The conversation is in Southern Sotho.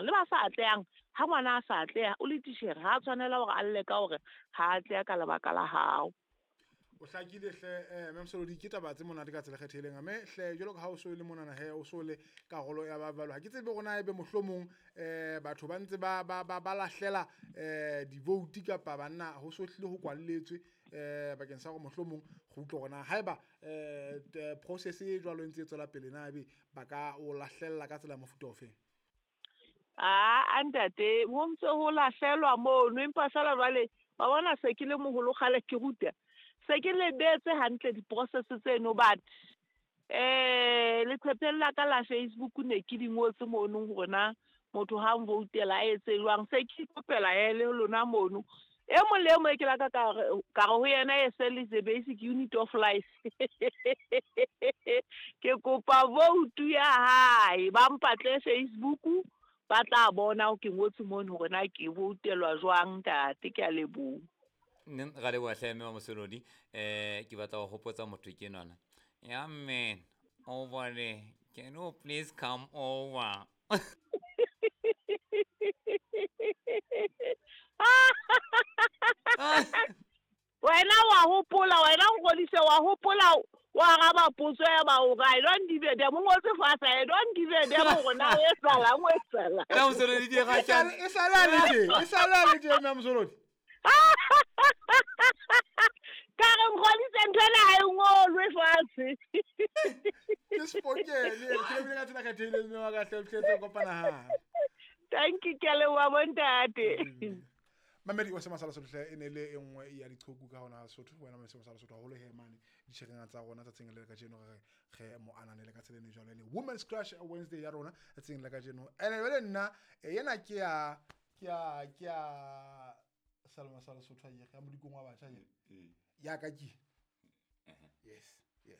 jwang. Le ba sa atlehang, ha ngwana a sa atleha, o le titjhere, ha a tshwanela hore a lle ka hore ha a atleha ka lebaka la hao. O hlakile hle eh Ma'am Solodi, ke taba tse monate ka tsela e kgethehileng. Mme hle jwalo ka ha o so le monana he, o so le karolo ya ba jwalo, ha ke tsebe hore na ebe mohlomong batho ba ntse ba ba ba ba lahlela di-vote kapa banna ho so hlile ho kwalletswe bakeng sa hore mohlomong go utlwe hore na haeba process e jwalo e ntse e tswela pele, na ebe ba ka o lahlella ka tsela ya mofuta ofeng? Aa ntate, ho ntse ho lahlelwa mono, empa feela jwale wa bona se ke le moholo kgale ke ruta, se ke lebetse hantle di-process tseno, but leqhepheng la ka la Facebook ne ke di ngotse mono hore na motho ha nvoutela a etse jwang. Se ke ikopela he le lona mono, e mong le e mong e ke la ka ka re ho yena SL is the basic unit of life. Ke kopa vote ya hae, ba mpatle Facebook, ba tla bona ke ngotse mono hore na ke voutelwa jwang ntate. Ke a leboha. Nne ra leboha hle mme wa Mosolodi. Ke batla ho hopotsa motho ke nwana. Ya man, over there. Can you please come over? Wena wa hopola, wena Nkgodise wa hopola, wa araba potso ya ba hore I don't give a damn. O ngotse fatshe, I don't give a damn hore na o etsahalang, o etsahalang. Nna Mosolodi di ga E sale a le teng, e sale a le teng, mme Mosolodi. Ka re Nkgodise ntho ena ha e ngolwe fatshe. Ke spokene, ke lebile ka tsela kgethehileng mme wa ka hle, hle, kopana hape. Thank you, ke a leboha bontate. Mamedi wa Semasala Sotho hle, e ne le e nngwe ya diqhoku ka hona Sotho. Wena Mamedi Semasala Sotho haholo he mane ditjhereng tsa rona tsatsing le kajeno, re re mo ananele ka tsela e jwalo, e le Women's Crush Wednesday ya rona tsatsing le kajeno. Ene jwale nna yena ke ya ke ya ke ya Salma Sala Sotho ya ya modikong wa batjha ye. Ya ka ke. Yes, yes.